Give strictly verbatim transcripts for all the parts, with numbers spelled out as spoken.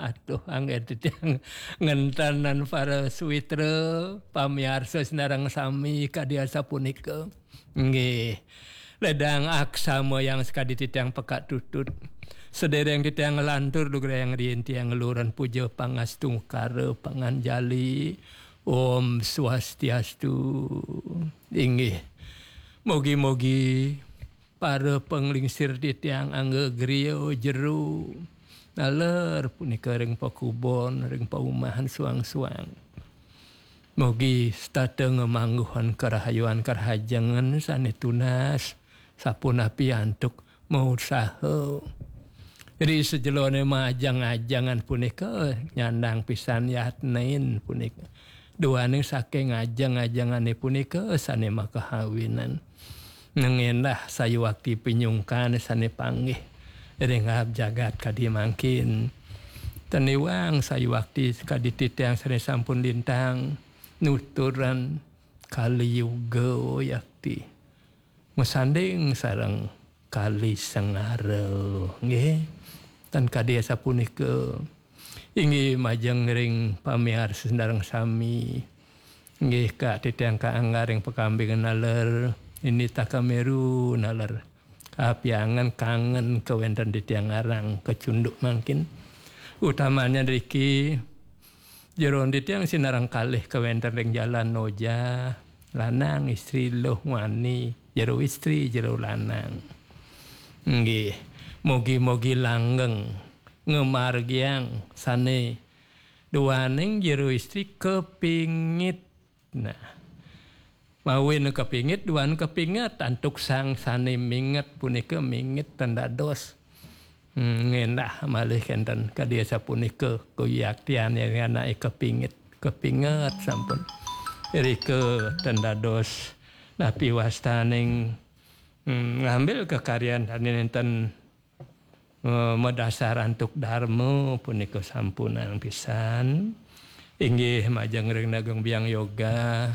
Atuh, angger titiang ngenten para suwitra, pamiarsa sinareng sami kadi asapunika. Nggih. Ledang aksamayang sakadi titiang Pekak Tutut. Sedereng titiang nglantur lugrayang riin titiang ngeluran puja pangastungkara panganjali. Om Swastiastu. Inggih. Mogi-mogi para panglingsir titiang angga griya jero naler punika ring pakubon, ring paumahan suang-suang. Mugi setata ngamangguhan karahayuan karahajengan sane tunas, sapunapi antuk mausaha. Ri sajelone majeng-ajengan punika nyandang pisan yatnin punika. Duaning saking ajeng-ajengane punika sane makahawinan. Nengendah sayuwakti pinyungkan sane panggih ring aab jagat kadi mangkin. Teniwang sayuwakti kadi titiang sane sampun lintang nuturan Kali Yuga yakti. Masanding sareng Kali Sengara, nggih. Tan kadi asapunika. Inggih majeng ring pamiarsa sareng sami. Nggih, Kak titiang kaangga ring pakambing naler, ini takameru naler. Apiangan kangen kawenten titiang arang kacunduk mangkin. Utamanya driki, jero titiang sinareng kalih kawenten ring jalan noja, lanang istri luh wani, jero istri, jero lanang. Nggih, mugi-mugi langgeng ngamargiang sane duaning jero istri kepingit. Nah, mawin kepingit, duan kepinget, antuk sang sane minget punika minget ten dados. Hmm, ngendah malih kenten kadi asapunika kuyaktian yang anake kepingit, kepinget sampun. Irika ten dados napi wastaning, hmm, ngambil kekaryan sane nenten, eh, madasar antuk darma punika sampunang pisan. Inggih majeng ring Nageng Biang Yoga.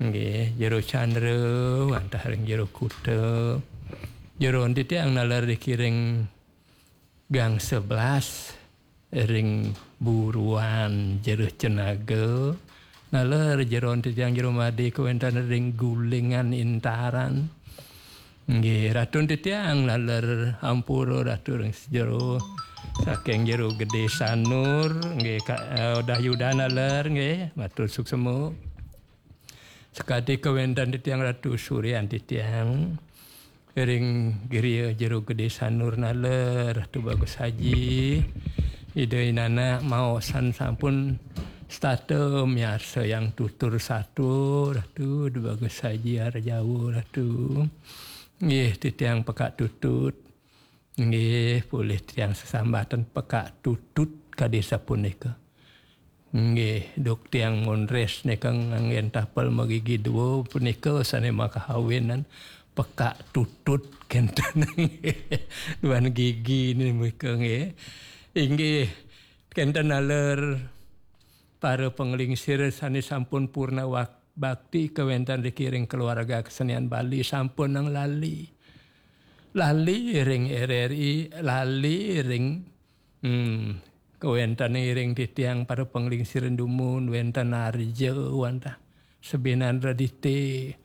Nggih, Jero Candra wantah ring Jero Kuta. Jero titiang naler dikiring Gang Sebelas ring Buruan Jero Cenaga. Naler jero titiang Jero Made kawenten ring Gulingan Intaran. Nggih, Ratu titiang naler ampura Ratu ring jero saking Jero Gede Sanur, nggih, Kak, eh, Udah Yuda naler, nggih, matur suksema. Sakadi kawenten titiang Ratu Suryan titiang ring griya Jero Gede Sanur naler, Ratu Bagus Haji. Ida inana maosan sampun setata miarsa yang tutur satua, Ratu Bagus Haji Arjawa, Ratu. Nggih, titiang Pekak Tutut. Nggih, polih tiang sesambatan Pekak Tutut kadi sapunika. Nggih, duk tiang mondres nika nganggen tapel magigi dua punika sane makahawinan Pekak Tutut kenten. Duan gigi ni mereka nggih. Inggih, kenten naler para panglingsir sane sampun purna wak-, bakti kawenten dikiring keluarga kesenian Bali sampun nang lali. Lali ring R R I, lali ring, hmm, kawenten iring titiang para panglingsir dumun, wenten Arja, wantah Sebinan Radite,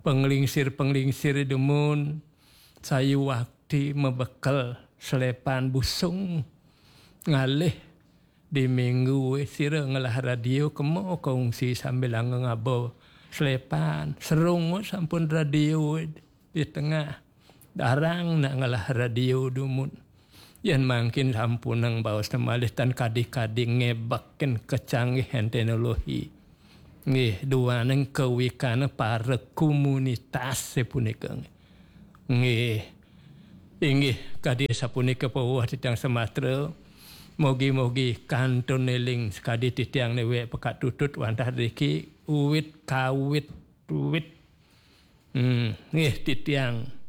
panglingsir-panglingsir dumun, sayuwakti mabekel selepan busung ngalih di minggu, sira ngelah radio kema kongsi sambil ngaba selepan. Serung sampun radio di tengah. Darang nak ngelah radio dumun. Yan mangkin sampunang baos malih tan kadi-kadi ngebekin kecanggihan teknologi. Nggih, duaning kawikana para komunitas punika. Nggih. Inggih, kadi sapunika pawuh titiang sematra. Mugi-mugi kantun eling sakadi titiang newek Pekak Tutut wantah driki uwit kawit uwit. Hmm, nggih titiang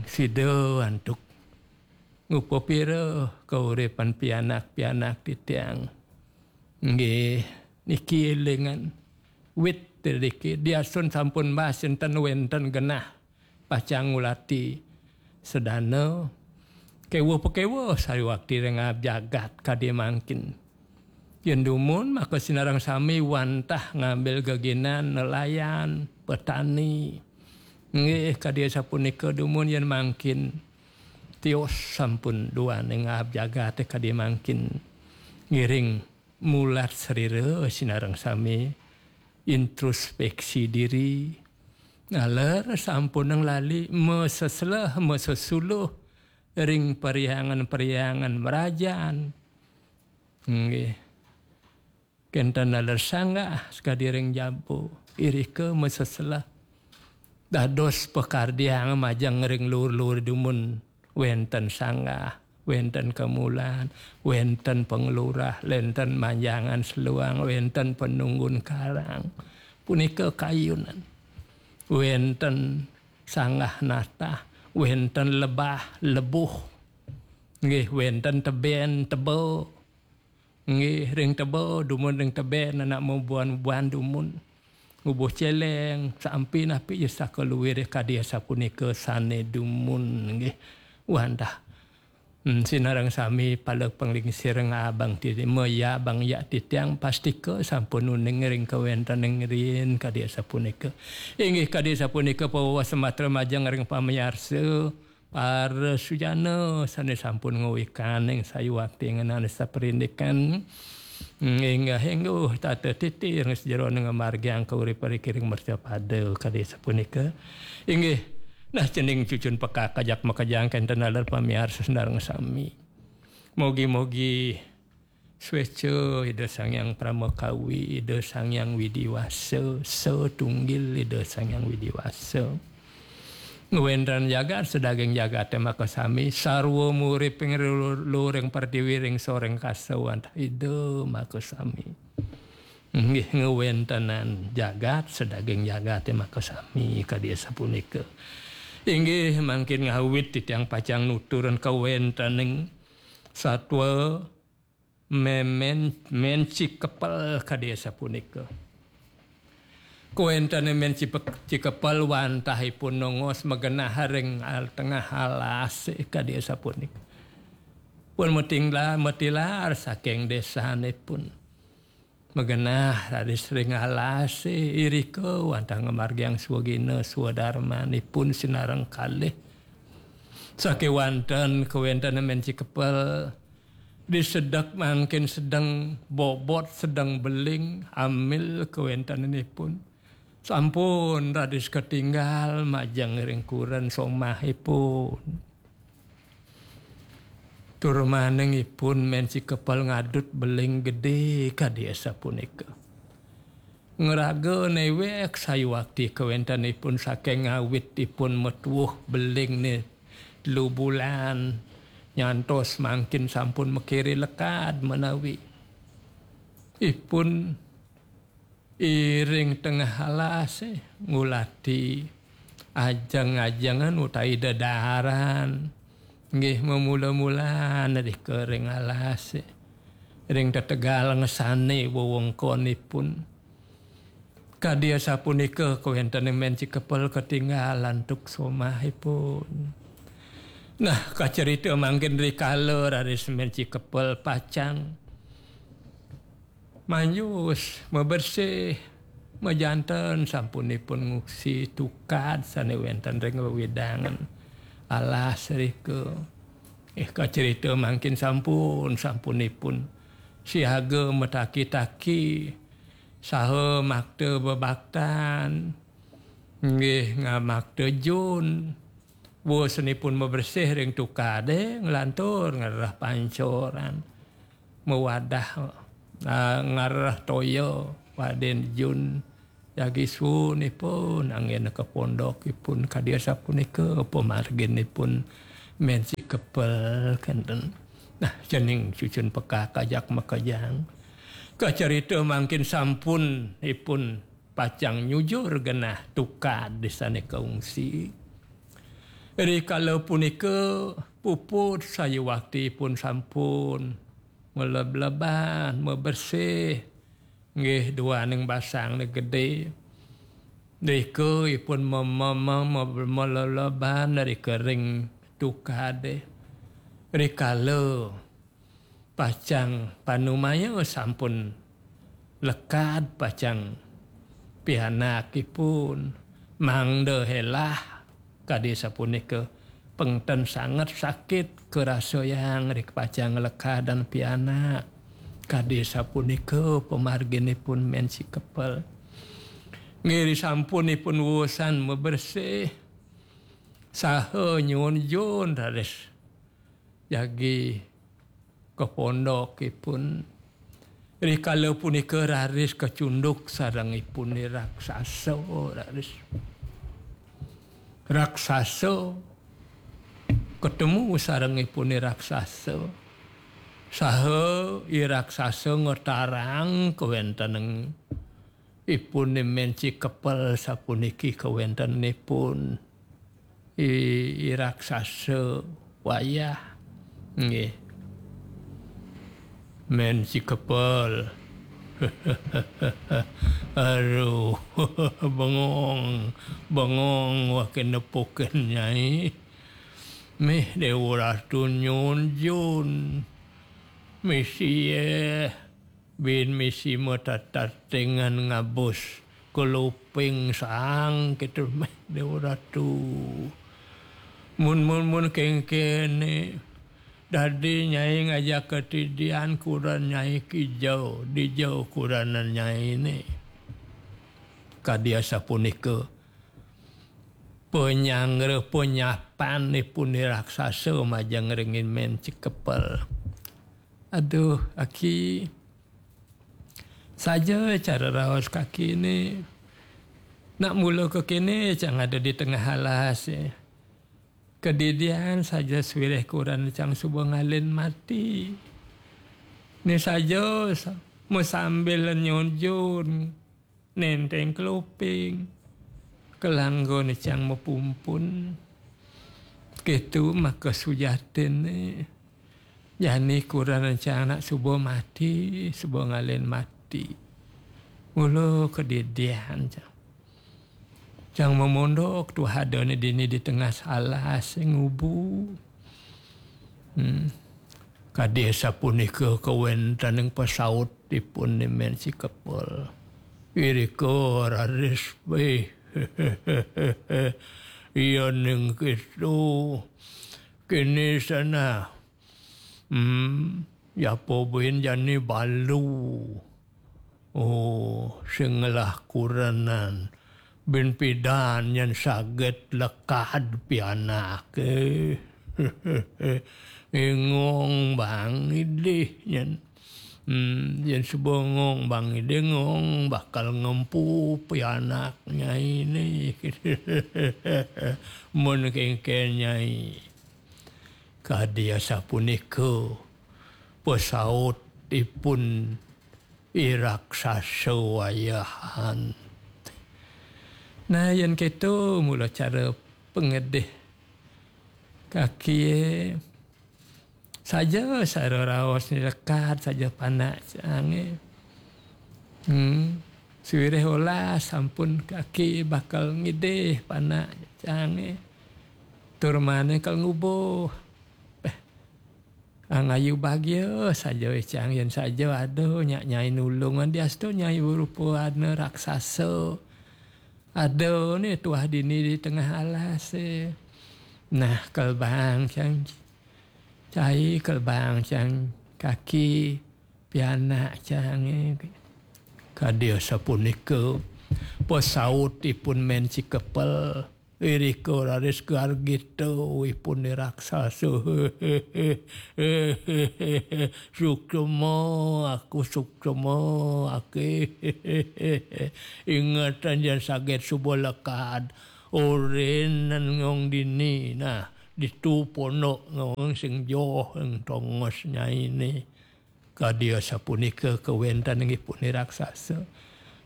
sida antuk ngupapira kauripan pianak-pianak titiang. Nggih, niki elingan wit driki diasun sampun mbas enten wenten genah pacang ngulati sedana Kewuh-pakewuh sayuwakti ring aab jagat kadi mangkin. Yén dumun maka sinareng sami wantah ngambil geginan nelayan, petani. Nggih, kadi sapunika dumun yén mangkin tios sampun duaning aab jagaté kadi mangkin. Ngiring mulat srira sinareng sami introspeksi diri. Naler sampunang lali masesleh, masesuluh ring perhyangan-perhyangan mrajan. Nggih. Kénten naler sanggah sakadi ring jaba, irika masesleh. Dados pakardiang majeng ring luur-luur dumun wénten sanggah, wénten kamulan, wénten panglurah, wénten manjangan seluang, wénten panunggun karang. Punika kayunan. Wénten sanggah natah, wénten lebah, lebuh. Nggih, wénten tebén, teba. Nggih, ring teba, dumun ring tebén, anak mabuan-buan dumun. Ngubuh céléng, sampi napi ja saka luiré kadi asapunika sané dumun, nggih. Wantah. Hmm, sinareng sami pala panglingsir ngabang titi, maya bang yak titiang pastika sampun uning ring kawéntening riin kadi asapunika. Inggih kadi asapunika pawewa sematra majeng ring pamiarsa. Para sujana sané sampun ngawikaning sayuwakti ngenani saprindikan, inggih, inggih, tata titi ring sajeroning ngamargiang kauripan ring mercapada kadi sapunika. Inggih, nah cening cucun pekak ajak makejang kénten taler pamiarsa sareng sami. Mogi-mogi Swéca Ida Sang Hyang Parama Kawi, Ida Sang Hyang Widi Wasa, satunggil Ida Sang Hyang Widi Wasa. Ngwénten jagat sadaging jagaté makasami, sarwa murip ing luring pertiwi ring soring kasa wantah Ida makasami. Inggih ngwéntenan jagat sadaging jagaté makasami kadi asapunika. Inggih mangkin ngawit titiang pacang nuturang kawéntening satwa Mén, mén, mén Cikepel kadi asapunika. Kawéntené mén Cipe-, Cikepel wantah ipun nongos magenah ring al-, tengah alasé kadi asapunika. Pun matingla-, matilar saking désanipun. Magenah raris ring alasé irika wantah ngamargiang swagina swadarmanipun sinareng kalih. Sakéwanten kawéntenan mén Cikepel, disedek mangkin sedeng bobot, sedeng beling, amil kawéntenanipun. Sampun raris katinggal majeng ring kuren somahipun. Tur maning ipun mén Cikepel ngadut beling gedé kadi asapunika. Ngraga néwék sayuwakti kawéntenipun saking ngawit ipun matuwuh belingné telu bulan nyantos mangkin sampun makiré lekad menawi. Ipun iring tengah alasé ngulati ajeng-ajengan utawi dedaaran. Nggih, mamula-mula nrika ring alasé. Ring tetegal ngesané wewengkonipun. Kadi asapunika kawéntenan mén Cikepel katinggal antuk somahipun. Nah, kacerita mangkin rikala raris mén Cikepel pacang manjus, mabersih, majanten sampunipun ngungsi tukad sané wénten ring wewidangan alas rika. Eh, kacerita mangkin sampun, sampunipun siaga mataki-taki saha makta bebaktan, nggih, ngamakta jun. Wus nipun mabersih ring tukadé, nglantur ngereh pancoran. Mawadah, ah, ngereh toya, wadin jun. Jagi suunipun, anggén ka pondokipun, kadi asapunika pamarginipun mén Cikepel kénten. Nah, cening cucun pekak ajak makejang. Kacarita mangkin sampun ipun pacang nyujur genah tukad désané kaungsi. Rikala punika puput sayuwakti ipun sampun malebleban, mabersih, nggih duaning basangné gedé. Rika ipun mem-, mem-, mem-, malebleban rika ring tukadé. Rikala pacang panumaya sampun lekad pacang pianakipun, mangda helah kadi sapunika, pengten sanget sakit karasayang ri pacang lekadan pianak. Kadi sapunika pamarginipun Mén Cikepel. Nggih, sampunipun wusan mabersih saha nyuun jun raris jagi ka pondokipun. Rikala punika raris kacunduk sareng ipun i raksasa, raris. Raksasa katemu sareng ipun i raksasa. Saha i raksasa ngatarang kawéntenan ipun i Mén Cikepel sapuniki kawéntenanipun. I, i raksasa wayah. Nggih. Mén Cikepel. Aduh, bengong, bengong waké nepukin Nyai. Mih Déwa Ratu nyuun jun. Misi, eh, bin misi matatatingan ngabus keluping saang kitu, mih Déwa Ratu. Mun, mun, mun kéngkéné, dadi Nyai ngajak katidian kurenan Nyai kija, dija kurenan Nyainé. Kadi asapunika panyanggra panyapanipun i raksasa majeng ring i Mén Cikepel. Aduh, Aki. Saja cara raos kakiné. Nak mula kakiné cang ada di tengah alas, eh. Kadidian saja sawireh kurenan cang suba ngalih mati. Né saja sa-, masambil nyuun jun. Nénténg keluping. Kalanggun cang mapumpun. Kéto maka sujatiné. Jani kurenan cang nak suba mati, suba ngalih mati. Mula kadidian cang. Cang mamondok tuah adané dini di tengah alas ngubu. Hmm. Kadi sapunika kawéntenan pasautipun i Mén Cikepel. Irika raris, eh, yéning kéto, kéné sanah. Hmm, yapa buin jani balu. Oh, sing ngelah kurenan. Bin pidan yén saget lekad pianaké. Ngong bang idih yén. Hmm, yén suba ngong bang idih, ngong bakal ngempu pianak Nyainé. Mun kéngkén Nyai. Kadi asapunika pasautipun i raksasa wayahan. Nah, yén kéto mula cara pangedih kakié, saja sara raos ni lekad saja panak cangé. Hmm, sawireh olas sampun kaki bakal ngidih panak cangé. Tur mané kal ngubuh. Péh, angayu bagia saja cang yén saja ada nyak Nyai nulung, diastu Nyai berupa ana raksasa. Ada né tuah dini di tengah alas, eh. Nah, kal bang cang cai, kal bang cang kaki pianak cang, eh. Kadi sapunika pasautipun Mén Cikepel. Irika raris gargita ipun i raksasa. Suksma aku, suksma ake. Ingetan yén saget suba lekad. Orin ngong dini. Nah, ditu pondok ngong sing joh ing tongos nyainé. Kadi asapunika kawéntenanipun i raksasa.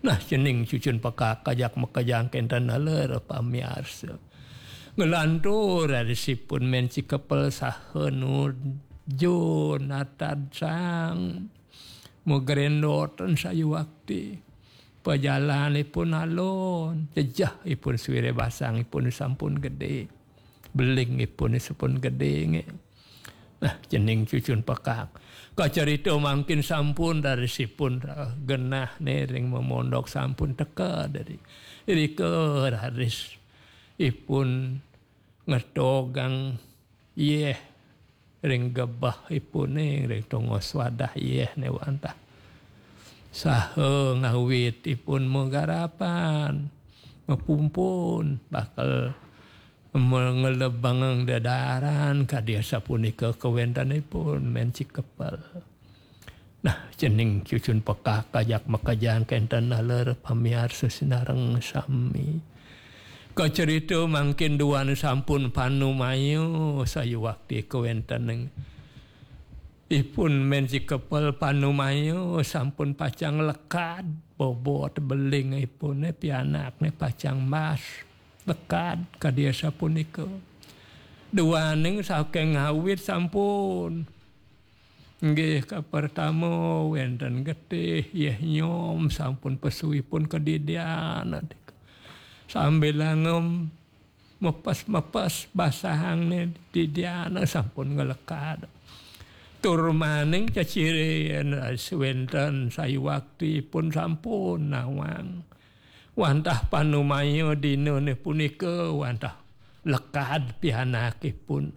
Nah, cening cucun pekak ajak makejang kénten taler pamiarsa. Nglantur raris ipun Mén Cikepel saha nuju natad sang magréndotan sayuwakti. Pajalanipun alon, jejehipun sawireh basangipun sampun gedé. Belingipun sampun gedé, nggih. Nah, cening cucun pekak. Kacerita mangkin sampun raris ipun, eh, genah né ring memondok sampun teka dari. Irika raris ipun ngetogang yéh ring gebeh ipuné, ring tongos wadah yéh né wantah. Saha ngawit ipun magarapan, mapumpun, bakal me-, ngelebang dedaran kadi asapunika kawéntenipun Mén Cikepel. Nah, cening cucun pekak ajak makejang kénten naler pamiarsa sinareng sami. Kacerita mangkin duaning sampun panumaya sayuwakti kawéntening ipun Mén Cikepel panumaya sampun pacang lekad, bobot beling ipuné pianakné pacang mas. Lekad kadi asapunika. Duaning saking ngawit sampun. Nggih, kapertama wénten getih, yéh nyom sampun pesu ipun kadidian. Sambil angem mepes-mepes basahang né didian sampun ngelekad. Tur maning cecirin wénten sayuwakti ipun sampun nawang. Wantah panumaya dinané punika wantah lekad pianakipun.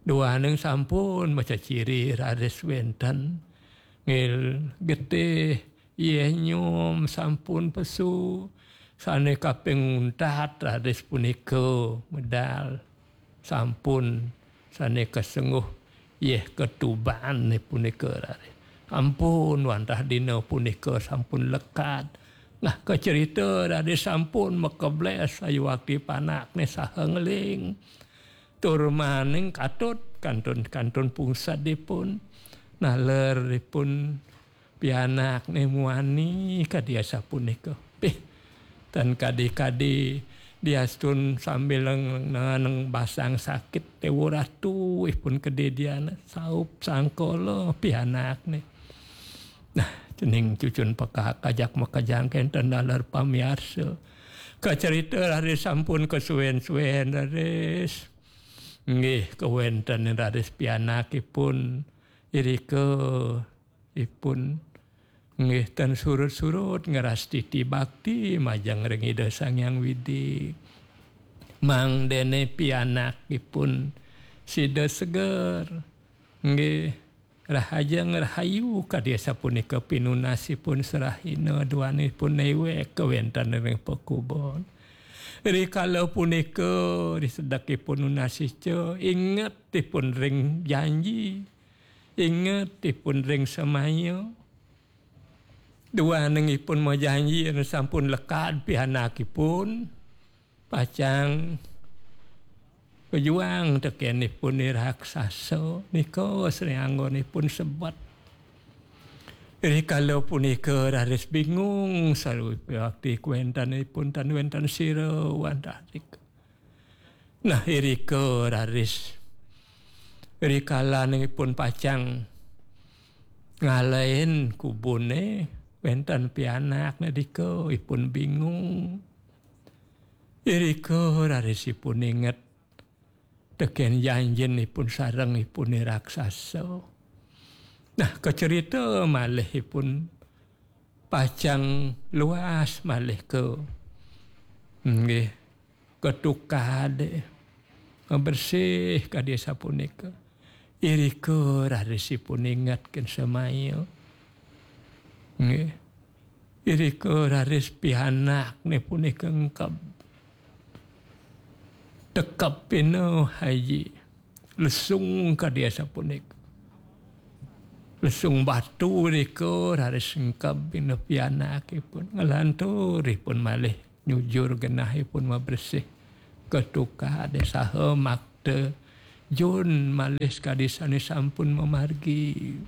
Duaning sampun maceciri raris wénten ngil getih, yéh nyom sampun pesu, sané kaping untat raris punika medal sampun sané kasengguh yéh katuban punika raris. Ampun wantah dina punika sampun lekad. Nah, kacerita raris sampun makeblés sayuwakti panakné saha ngeling. Tur maning katut kantun-kantun pungsedipun. Naler ipun pianakné muani kadi asapunika. Pih, tan kadi-kadi diastun sambil neng-, neng basang sakit déwa ratu ipun kadidian saup sangkala pianakné. Nah, cening cucun pekak ajak makejang kénten naler pamiarsa. Kacerita raris sampun kasuwén-suwén raris. Nggih, kawéntenan raris pianakipun irika ipun nggih tan surut-surut ngrastiti bakti majeng ring Ida Sang Hyang Widi. Mangdané pianakipun sida seger. Nggih, rahajeng rahayu kadi asapunika pinunasipun serahina duanipun néwék kawéntenan ring pakubon. Rikala punika risedekipun nunas ica ingetipun ring janji. Ingetipun ring semaya. Duaning ipun majanji yén sampun lekad pianakipun, pacang pejuang tekén ipun i raksasa nika sri anggonipun sebet. Rikala punika raris bingung sawi piwakti kawéntenipun tan wénten sira wantah rika. Nah, irika raris rikalanipun pacang ngalahin kubuné wénten pianakné dika ipun bingung. Irika raris ipun inget tekén janjinipun sareng ipun i raksasa. Nah, kacerita malih ipun pacang luas malih ka, nggih, ka tukad, bersih kadi sapunika. Irika raris ipun ingetkin semaya. Nggih. Irika raris pianakné punika engkeb. Tekep pina Haji. Lesung kadi sapunika. Lesung batu irika raris engkeb pina pianakipun. Nglantur ipun malih nyujur genahipun mabersih ka tukad saha makta jun malih sakadi sané sampun mamargi.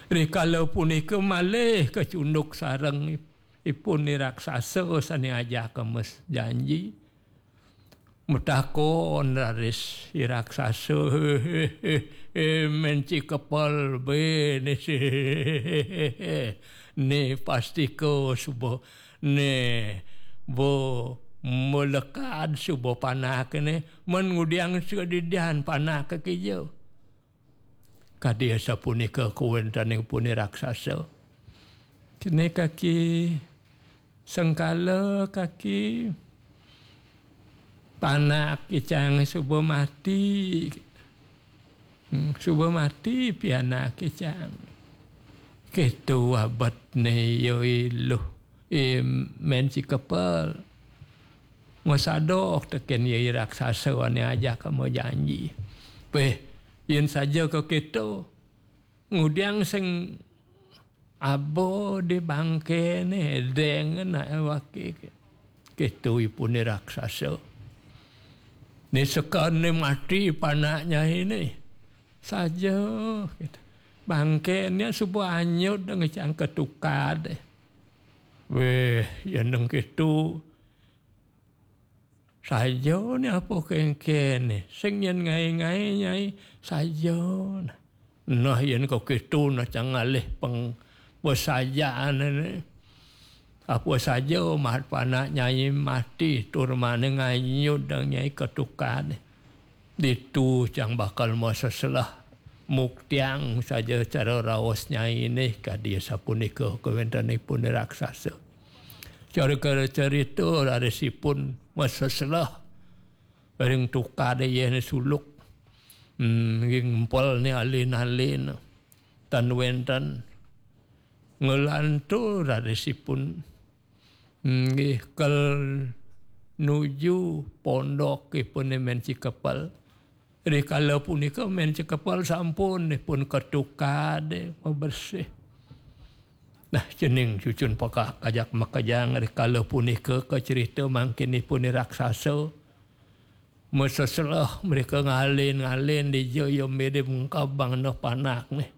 Rikala punika malih kacunduk sareng ipun i raksasa sané ajaka mes janji. Matakon raris i raksasa, "Hé, hé, hé, hé, Mén Cikepel, bé né sih, né pastika suba né ba malekad suba panakné, mén ngudiang sadidian panaka kija." Kadi sapunika kawéntenanipun raksasa. Kéné kaki sengkala kaki panak icang suba mati. Hmm, suba mati pianak icang. Kéto abetné ya iluh. I Mén Cikepel. Masadok tekén ya i raksasa ané ajaka majanji. Péh, yén saja kakéto. Ngudiang sing aba di bangkéné déngen awaké. Kéto ipuné raksasa. Né sekané mati panak nyainé. Saja, kéto. Bangkéné suba anyud ngecang ketukad. Wéh, yén deng kéto. Saja né apa kéngkéné. Sing yén ngaé-ngaé nyai saja. Nah, yén kakéto nah cang ngalih peng pesajaan né. Apa saja mat panak nyai mati tur maning anyud dang nyai ketukad. Ditu cang bakal maseselah muktiang saja cara raos nyainé kadi sapunika kawéntenanipun raksasa. Cara kala cerita rarisipun maseselah ring tukad yéhné suluk. Hmm, nggih ngempel né alin-alin. Tan wénten nglantur rarisipun. Hmm, nggih kal nuju pondok ipuné Mén Cikepel. Rikala punika Mén Cikepel sampun ipun ketukad mabersih. Nah, cening cucun pekak kajak makejang rikala punika kacerita mangkin ipun raksasa. Maseselah mereka ngalin-ngalin dija ya mirip ngkabang nah panak nih.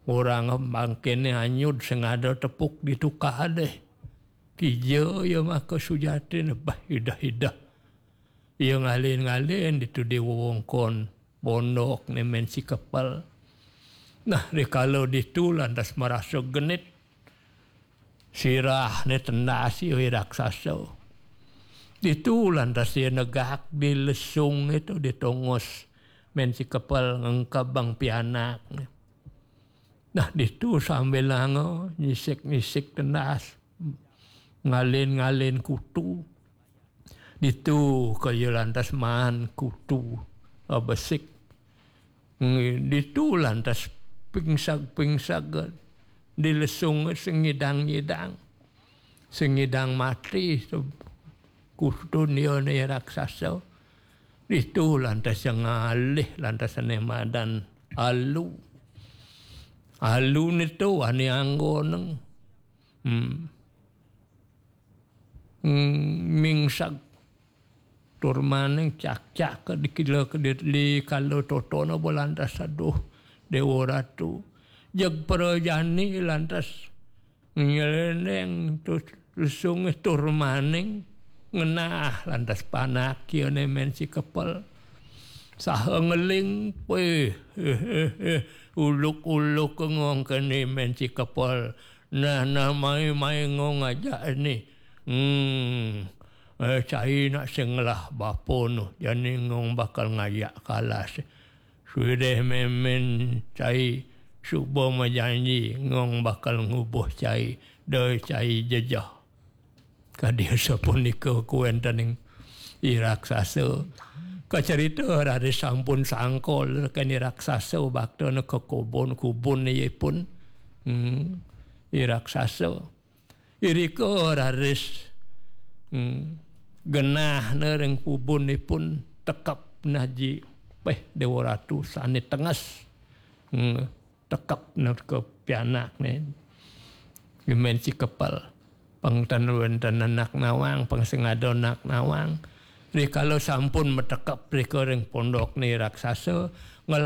Orang mangkin anyud sing ada tepuk di tukad deh. Kija ya maka sujati nih bah idah-idah. Ia ngalin-ngalin ditu di wewengkon pondok né Mén Cikepel. Nah, rikala ditu lantas marasa genit. Sirah né tendas ia raksasa. Ditu lantas ia negak di lesung itu di tongos Mén Cikepel ngengkebang pianak. Nah, ditu sambilanga nyisik-nyisik tendas. Ngalin-ngalin kutu. Ditu kaya lantas maan kutu, eh, besik. Ngi-, ditu lantas pingsag-pingsag, eh, di lesung sing ngidang-ngidang. Sing ngidang mati, se-, kutun ia né raksasa. Ditu lantas yang ngalih, lantas ané madan alu. Alu nitu ané anggoneng. Hmm. Hmm, mingsag. Tur maning cak-cak di kila di, di kala totona ba lantas aduh Déwa Ratu. Jeg prajani lantas nyelendeng terus lesung tur maning ngenah lantas panak kiane Mén Cikepel. Saha ngeling, wéh, uluk-uluk ngong kene Mén Cikepel. Nah, nah, mai, mai ngong aja ini. Hmm. Eh, cai nak sing ngelah bapa nu, jani ngong bakal ngajak kalas. Sudah mémén cai suba majanji ngong bakal ngubuh cai, da cai jejeh. Kadi sapunika kuwéntening i raksasa. Kacarita raris sampun sangkol kén i raksasa baktana ka kubun-kubun ipun. Hmm. I raksasa. Irika raris, hmm, genahna ring kubunipun tekep naji. Péh Déwa Ratu sané tenges. Hmm, tekep nerka pianakné. Mén Cikepel. Pang tan wénten anak nawang, pang sing ada anak nawang. Rikala sampun matekep rika ring pondokné raksasa, ngelah